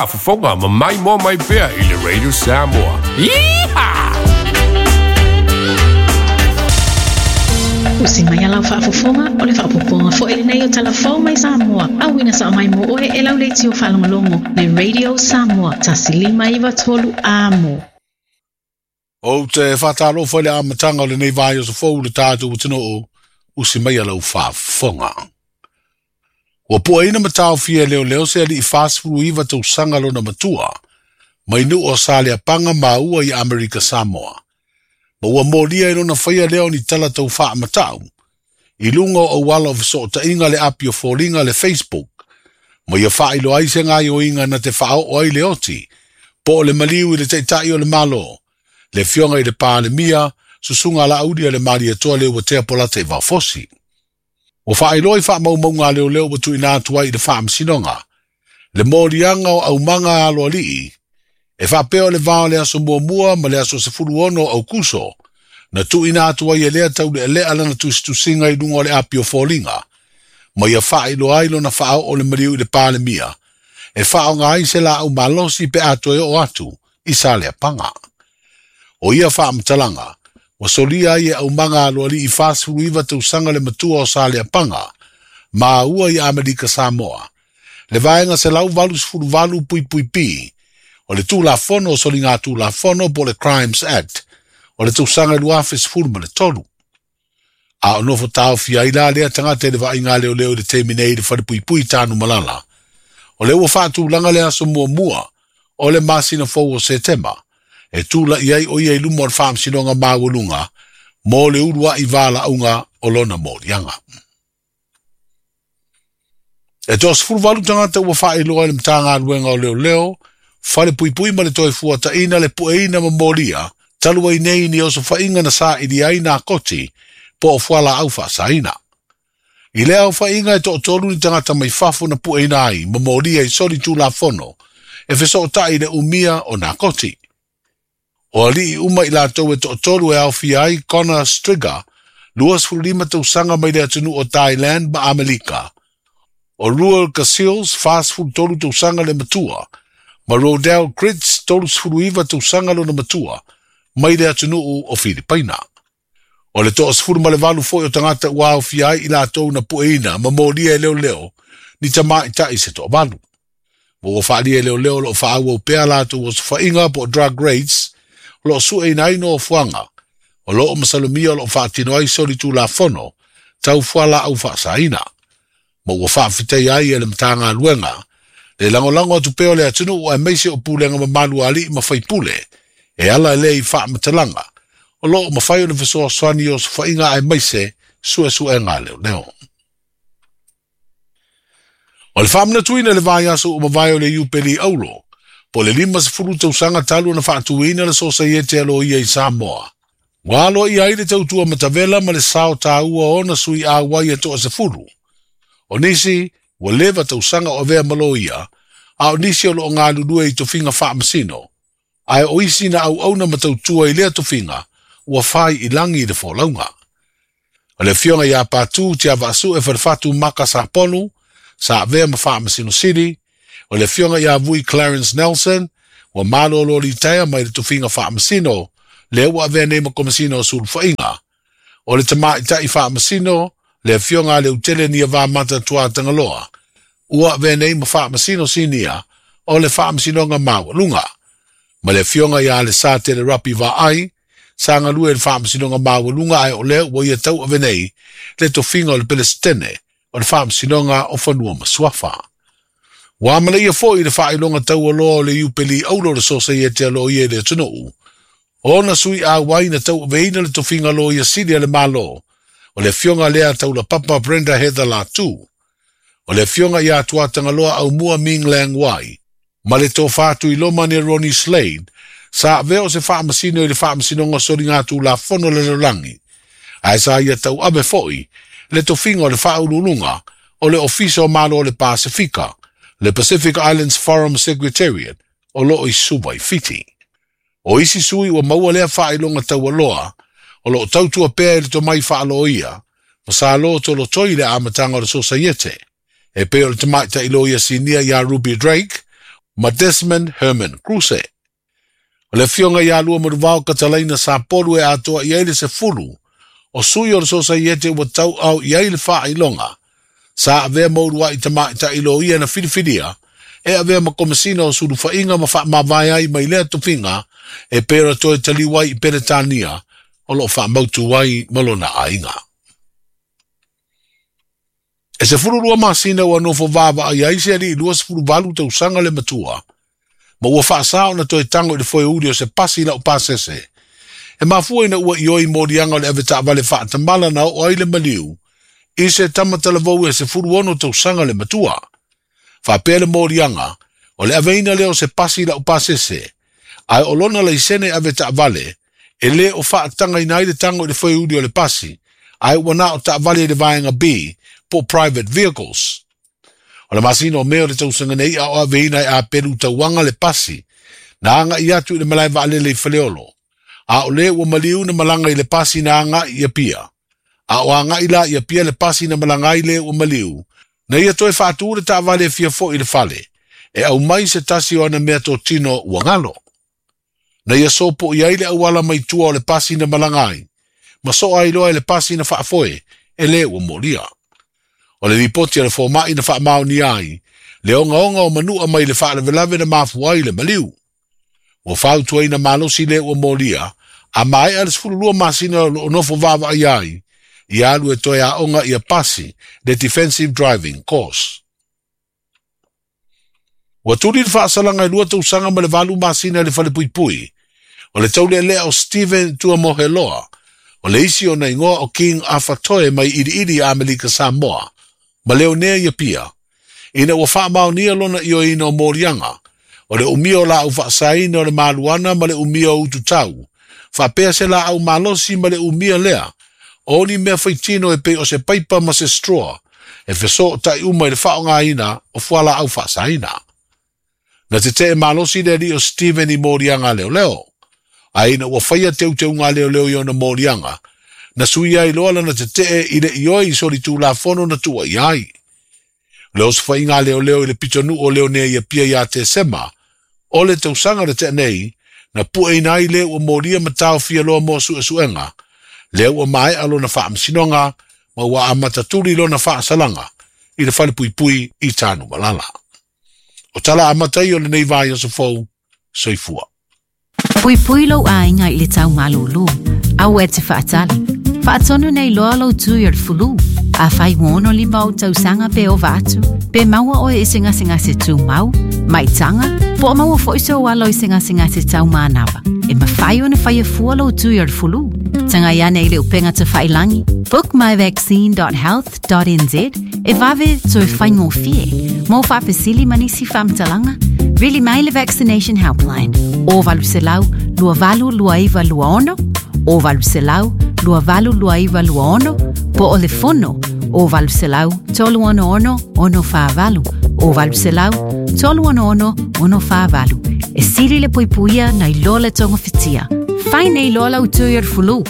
Faafofoga ma maimoa mai pea i le Radio Samoa. Yeehaw! Usi mai a lau faafofoga, o le faaopoopoga foi lenei o Tala Fou mai Samoa, auina sao mai mo oe e lau leitio faalogologo le Radio Samoa 1593 Amo. Ou te faatalofa i le amataga o lenei vaiaso fou i le tatou atunuu, usi mai a lau faafofoga. Ua puaina ma taofia e leoleo se alii 49 tausaga lona matua, mai nuu o Saleapaga maua i Amerika Samoa, ma ua molia i lona faia lea o ni tala tau faamatau i luga o auala o fesootaiga le api o foliga le Facebook, ma ia faailoa ai se gaoioiga na te faaoo ai le oti po o le maliu i le Taitai o le Malo, le Afioga i le Palemia, Susuga Laauli a le Malietoa Leuatea Polata i Vaofosi. Ua faailoa i faamaumauga a leoleo ua tuuina atu ai i le Faamasinoga le moliaga o aumaga a aloalii e faapea o le va o le aso muamua ma le aso 16 o Aukuso na tuuina atu ai e lea taulealea lana tusitusiga i luga o le api o foliga ma ia faailoa ai lona faaoo le maliu i le Palemia e faaaoga ai se laau malosi pe a toe oo atu i Saleapaga. O ia faamatalaga, ua solia ai e aumaga aloalii 49 tausaga le matua o Saleapaga, maua i Amerika Samoa, le vaega 188 puipui P o le Tulafono o Soligatulafono po o le Crimes Act o le tausaga 2013. A o nofo taofia ai la lea tagata i le vaaiga a leoleo i le taimi nei i le falepuipui Tanumalala, o lea ua faatulaga le aso muamua o le masina fou o Setema e tula'i ai o ia i luma o le Faamasinoga Maualuga mo le ulua'i valaauga o lona moliaga. E toa-18 tagata ua faailoa e le Matagaluega o Leoleo, Falepuipui ma le Toefuataiga le pueina ma molia talu ai nei ni osofaiga na saili ai nakoti po o fualaau faasaina. I lea aofaiga e toatolu ni tagata mai fafo na pueina ai ma molia i soli tulafono e fesootai i le umia o nakoti. O alii uma i latou e toatolu e aofia ai Connor Striga, 25 tausaga mai le atunuu o Thailand ma Amelika, o Ruel Casills, 43 tausaga le matua, ma Rodel Critz, 39 tausaga lona matua, mai le atunuu o Filipaina. O le toa-18 foi o tagata ua aofia ai i latou na pueina ma molia e leoleo ni tamaitai se toavalu. Ma ua faaalia e leoleo o lo o faaauau pea latou osofaiga po o drug raids o lo o sueina ai nofoaga o lo o masalomia o lo o faatino ai solitulafono tau fualaau faasaina. Ma ua faafetaia ai e le Matagaluega le lagolago atu pea o le atunuu aemaise o pulega mamalu a alii ma faipule e ala lea i faamatalaga o lo o mafai ona fesoasoani i osofaiga aemaise suesuega a leoleo. O le faamanatuina i le vaiaso ua mavae o le Iupeli Auro, po o le 50 tausaga talu ona faatuina le Sosaiete a Loia i Samoa, ua aloaia ai le tautua matavela ma le sao taua o ona sui auai e toa-10. O nisi, ua leva tausaga o avea ma loia, a o nisi o lo o galulue i tofiga faamasino, ae o isi na auauna ma tautua i lea tofiga ua fai i lagi i le folauga. O le afioga ia Patu Tiavaasue Falefatu Maka Saponu, sa avea ma Faamasino Sili, o le afioga ia Vui Clarence Nelson, ua malolo litaea mai le tofiga faamasino, lea ua avea nei ma Komesina o Sulufaiga. O le tamaitai faamasino, le afioga a Leutele Niavamata Tuatagaloa, ua avea nei ma Faamasino Sinia o le Faamasinoga Maualuga, ma le afioga ia Alesatele Rapi Vaai, sa galue i le Faamasinoga Maualuga ae o lea ua ia tauave nei le tofiga o le Pelesitene o le Faamasinoga o Fanua ma Suafa. Ua amanaia foi le faailoga taualoa o le Iupeli Auro o le Sosaiete a Loia i le atunuu, o ona sui auai na tauaveina le tofiga Loia Sili a le Malo, o le afioga lea Taulapapa Brenda Heather Latu, o le afioga ia Tuatagaloa Aumua Ming Lang Wai, ma le Tofa Tuiloma ni Ronnie Slade, sa avea o se faamasino i le Faamasinoga Soligatulafono le Lalolagi, ae sa ia tauave foi le tofiga o le Faauluuluga o le Ofisa o Malo o le Pasefika, le Pacific Islands Forum Secretariat, o lo o i Suva i Fiti. O isi sui ua maua lea faailoga taualoa, o lo o tautua pea i le tomai faaloia, ma sa lotolotoi i le amataga o le Sosaiete, e pei o le tamaitai loia sinia ia Ruby Drake, ma Desmond Herman Kruse. O le afioga ia Luamanuvao Katalaina Sapolu e atoa i ai le 10 o sui o le Sosaiete ua tauau i ai le faailoga sa avea ma uluai tamaitai loia na filifilia e avea ma komesina o sulufaiga ma faamavae ai mai lea tofiga e pei ona toe taliu ai i Peretania o loo faamautu ai ma lona aiga. E 12 masina ua nofo vaavaai ai se alii 28 tausaga le matua, ma ua faasā ona toe tago i le foeuli o se pasi lau pasese. E mafua ina ua ioe i moliaga o le avetaavale faatamala na oo ai le maliu i se tamatalavou e 16 tausaga le matua. Faapea le moliaga o le aveina lea o se pasi lau pasese, ae o lona laisene avetaavale e lē o faatagaina ai le tago i le foeuli o le pasi, ae ua na o taavale i le vaega B po private vehicles. O le masina o Me o le tausaga nei a o aveina e Apelu Tauaga le pasi, na agai atu i le malae vaalele i Faleolo. A o le ua maliu na malaga i le pasi na agai i Apia. A o agai la i Apia le pasi na malaga ai le ua maliu, na ia toe faatū le taavale e fia foi i le fale, e aumai se tasi o ana mea totino ua galo. Na ia sopo i ai le auala mai tua o le pasi na malaga ai, ma soa ai loa i le pasi na faafoe e le ua molia. O le lipoti a le fomai na faamaonia ai, le ogaoga o manua mai le faalavelave na mafua ai le maliu. Ua fautuaina malosi le ua molia, a maea le 12 masina o loo nofo vaavaai ai, ia alu e toe aoga ia pasi le Defensive Driving Course. Ua tuli le faasalaga e 2 tausaga ma le 8 masina i le falepuipui, o le taulealea o Steven Tuamoheloa, o le isi ona igoa o King Afatoe mai Iliili i Amerika Samoa, ma Leonea i Apia, ina ua faamaonia lona ioeina o moliaga, o le umia o laau faasaina o le maluana ma le umia o ututau, faapea se laau malosi ma le umia lea, o ni mea faitino e pei o se paipa ma se straw, e fesootai uma i le faaaogaina o fualaau faasaina. Na tetee malosi le alii o Steven i moliaga leoleo, ae ina ua faia teuteuga leoleo i ona moliaga, na suia ai loa lana tetee i le ioe i solitulafono na tuuaia ai. Le osofaiga leoleo i le pitonuu o Leonea i Apia ia Tesema, o le tausaga na tea nei, na pueina ai le ua molia ma taofia loa mo suesuega, lea ua maea lona faamasinoga ma ua amata tuli lona faasalaga i le falepuipui i Tanumalala. O tala amata ia o lenei vaiaso fou, soifua. Puipui lou aiga i le tau malūlū. Aua e te faatali. Faatonu nei loa lou tui o le fulu. Afai ua 65 ou tausaga pe ova atu, pe maua oe i se gasegase tumau, maitaga, po o maua foi sou alo i se gasegase taumanava. E mafai ona faia fua lou tui o le fulu. Tagai ane i le upega tafailagi, bookmyvaccine.health.nz e vave toe faigofie. Mo faafesili ma nisi faamatalaga, vili mai le Vaccination Helpline o 800 2829 26 o 800 2829 26 po o le fono o 800 366 648 o 800 366 648. E sili le puipuia nai lo le togafitia. Fai nei loa lau tui o le fulu.